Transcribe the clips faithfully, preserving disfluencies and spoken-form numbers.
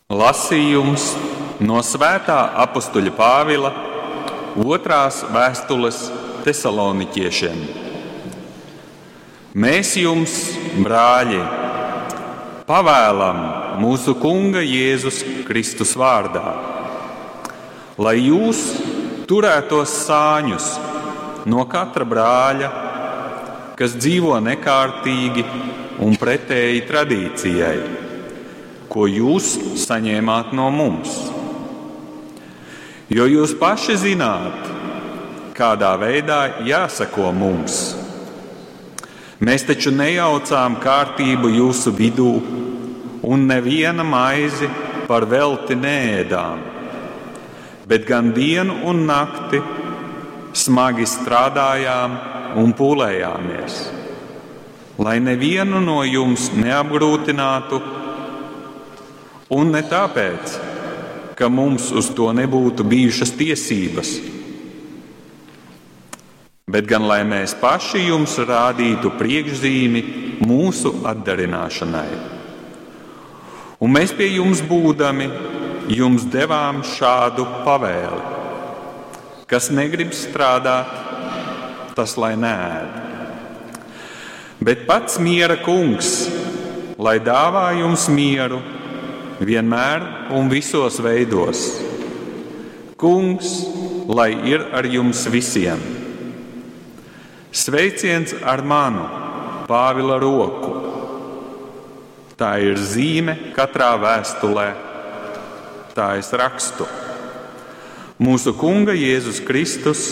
Lasījums no Svētā apustuļa Pāvila otrās vēstules Tesaloniķiešiem. Mēs jums, brāļi, pavēlam mūsu Kunga Jēzus Kristus vārdā, lai jūs turētos sāņus no katra brāļa, kas dzīvo nekārtīgi un pretēji tradīcijai, ko jūs saņēmāt no mums. Jo jūs paši zināt, kādā veidā jāsako mums. Mēs taču nejaucām kārtību jūsu vidū un neviena maizi par velti neēdām, bet gan dienu un nakti smagi strādājām un pūlējāmies, lai nevienu no jums neapgrūtinātu, un ne tāpēc, ka mums uz to nebūtu bijušas tiesības, bet gan lai mēs paši jums rādītu priekšzīmi mūsu atdarināšanai. Un mēs pie jums būdami, jums devām šādu pavēli: kas negrib strādāt, tas lai neēd. Bet pats miera kungs, lai dāvā jums mieru vienmēr un visos veidos. Kungs, lai ir ar jums visiem. Sveiciens ar manu, Pāvila roku. Tā ir zīme katrā vēstulē. Tā es rakstu. Mūsu Kunga Jēzus Kristus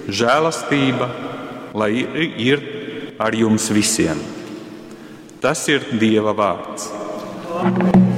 žēlastība, lai ir ar jums visiem. Tas ir Dieva vārds. Amen.